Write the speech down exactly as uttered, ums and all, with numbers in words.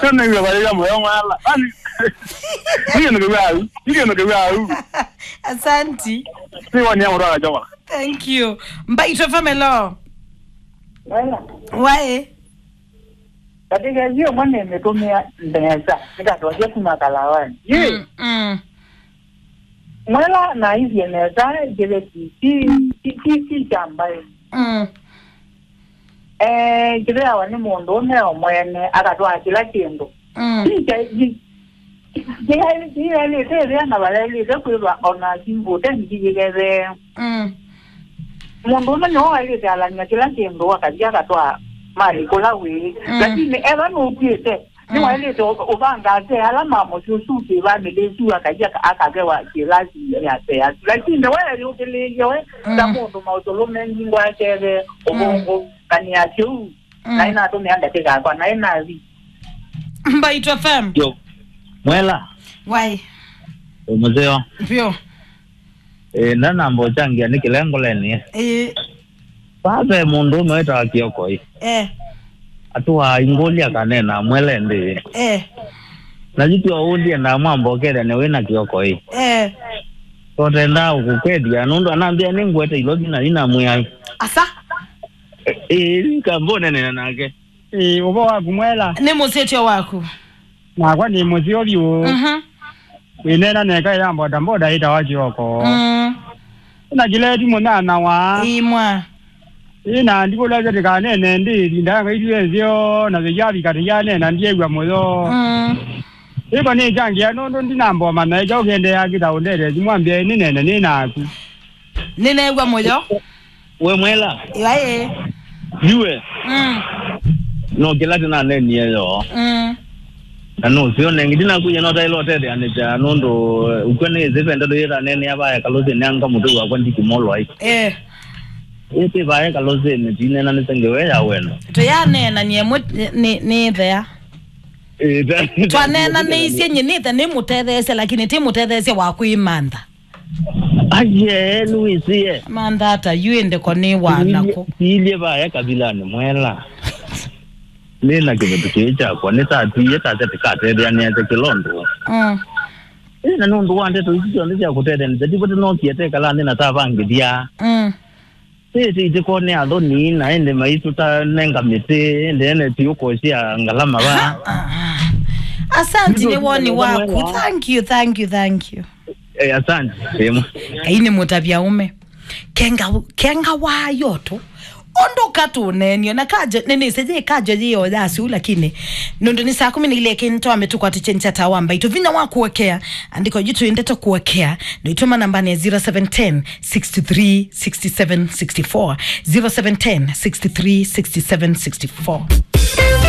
Nĩnĩw'a vaĩya mũyo mwela. Ani. Nĩkĩndũ kĩw'au. Nĩkĩndũ kĩw'au. Asanti. Nĩwonia mũndũ akachoka. Thank you. Mbaitũ F M, hello. Wela. Waĩ. Katika hiyo mwana imetumia ndeneza. Nikatosha kuma kalawani. Ye. Mm, mm. Mwela na ithie nesa, kĩve ti, ti, ti, ti, ti kya mbaĩ. Mm. Eh, kĩveawa nĩ mũndũ ũme o mwene, akatwaa kĩla kĩndũ. Mm. Ti kya, ti, kĩyaĩlĩte ĩvĩa na vayaĩlĩte kwĩva ona kimbũte ngi yĩkethee. Mm. Mũndũ ũme nĩwe waĩlĩte alany'a kĩla kĩndũ, akathi akatwaa mali kũla wĩĩ. Mm. Lakini eva nũkwĩte, nĩwaĩlĩte ũ-, ũvanga ate ala ma mũsyĩ ũsu kĩ famĩlĩ ĩsu, akathi aka-, akavewa kĩlasi ya seasi. Lakini we ayũkĩlĩĩlye we, ta mũndũ maũsũlũ mengi ngwakeve ũvũngũ, kanĩa kĩu, na ĩnatũmĩa ndatĩka yakwa, na ĩnathi. Mbaitũ F M. Yo. Mwela. Wai. Ũmũtheo. Pyo. Eh, ndanamba ũchangia nĩ kĩla ngoleni. Eh. Vaa ve mũndũ ũme wĩtawa Kiokoi. Eh. Atũaa ingũlya kanena mwele ndĩ. Eh. Na yu tyo ũndie ndamwamba ũkethane wĩna Kiokoi. Eh. Totendaa ũkũkwethia nũndũ anambĩa nĩ ngwete ilovi na ina mwĩai. Asa? Eh, kambonene nake. Ĩĩ, ũvo waku mwela. Nĩ mũsyĩtyo waku. Nakwa nĩ mũseo vyũ. Mhm. Wĩneena neka ya mboda mboda ĩtawa Kioko. Mm. Na kĩleti mũnyana wa. Imwa. Ĩna ndikũlesya tĩkanene ndĩ ĩvinda ya ngaitue nzeo na vĩyavi katĩ yanena ndiew'a mũyo. Mm. Ĩko nĩ changia nũndũ ndinamboma na ĩkya ũkendeea kĩta ũndete simwambia nĩnene nĩ naku. Nĩneew'a mũyo. We mwela. Ĩwaĩ. Yue. Mm. No kĩla tĩnanenie yo. Mm. Na nũseo nengi ndinakuya no taĩla ũtetheanĩsya nũndũ ũkw'a nĩ ĩsĩ ve ndeto yĩtanenea vaya kalũsĩ nĩanga mũtũi wakwa ndikimolwa ai. Eh. Ĩtĩ vaya kalũsĩnĩ tinena nĩsengewe ya wendo. Tũyaneenanie mwe nĩ, nĩ, nĩ thea. Ĩĩ, twaneenanĩisye nyie nĩthe nĩmũtetheesya lakini ti mũtetheesya wa kwĩmantha. Aye, nĩwĩsĩe. Mantha ata yu ĩndĩ ko nĩ wanako. Tiilye vaya kavilanĩ mwela. Nĩ na kĩveti kĩĩ kyakwa, nĩtatwie tasya tĩkatetheanĩasya kĩla ũndũ. Mm. Ĩ, na nũndũ wa ndeto isu syonthe sya kũtetheanĩsya, ndivoti nookie tekala nthĩ na tavangĩthya. Mm. Sisi itikone athoni na ende maitũ ta nenga mĩtĩ, ende ene tiũkosya ngalama va. Ah, ah. Asante nĩ woni waku. Thank you, thank you, thank you. Eh, asante. Sema. Ngai nĩ mũtavya ũme. Kenga, kenga wa yoto. Ũndũ katũnenio na kajo nĩnĩsĩ yĩ kajo yĩyo yasu lakini nũndũ nĩ saa kũmi na ilĩ ĩkĩ nĩtwa mĩtũkwatĩkye nchata wa mbaitũ vinya wa kuokea andĩko jitũ ndeto kuokea nĩtũma nambani ya zero seven ten sixty-three sixty-seven sixty-four, zero seven ten sixty-three sixty-seven sixty-four.